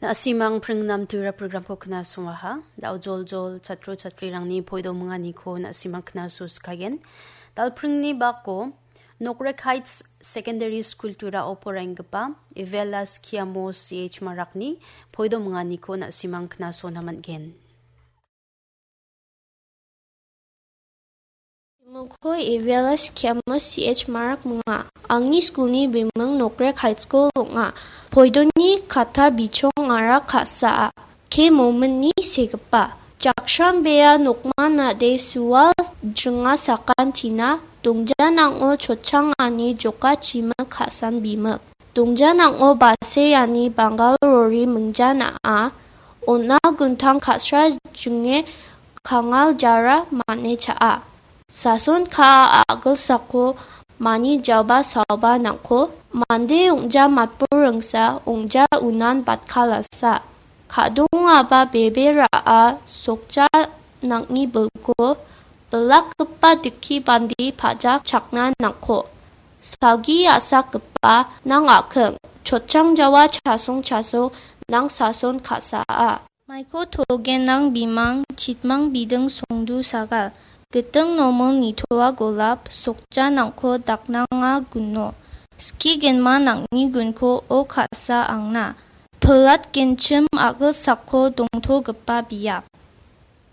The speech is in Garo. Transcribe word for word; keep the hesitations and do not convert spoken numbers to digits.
Na·simang pringnam tura programko knasongaha. Dao joljol chatro chatrirangni poidominganiko na·simang knaso sikagen. Dalpringni bako Nokrek Heights Secondary School tura oporenggipa Evelas Kiamo C H Marakni poidominganiko na·simang knasona man·gen. Bimingko Evelas Kiamo C H Marak minga. Angni skulni biming Nokrek High School ong·a. Poidoni katta bichongara ka·saa. Ke mominni segipa. Jakshram bea nokman nade sual jringa sakan tina dongjanango chochangani joka chimik ka·san bimik. Dongjanango baseani Bangal rori mingjana·a. Ona guntang kasra jinge kangal jara mane cha·a. Sason ka·a a·gilsako mani jaba saoba nangko mande ong·ja matbur ringsa ong·ja unan batkalasa. Ka·dongaba bebe ra·a sokja nang·ni bilko bilakgipa dikki bandi pajak chakna nangko. Salgi a·sakgipa nang a·king, chotchang jawa chasong chasong nang sason ka·saa. Maiko togen nang bimang, chitmang biding songdu sagal, giting nomil nitoa golap, sokja nangko daknanga guno. Ski genma nang·ni gunko o ka·sa angna. Pilat genchim a·gilsako dongtogipa biap.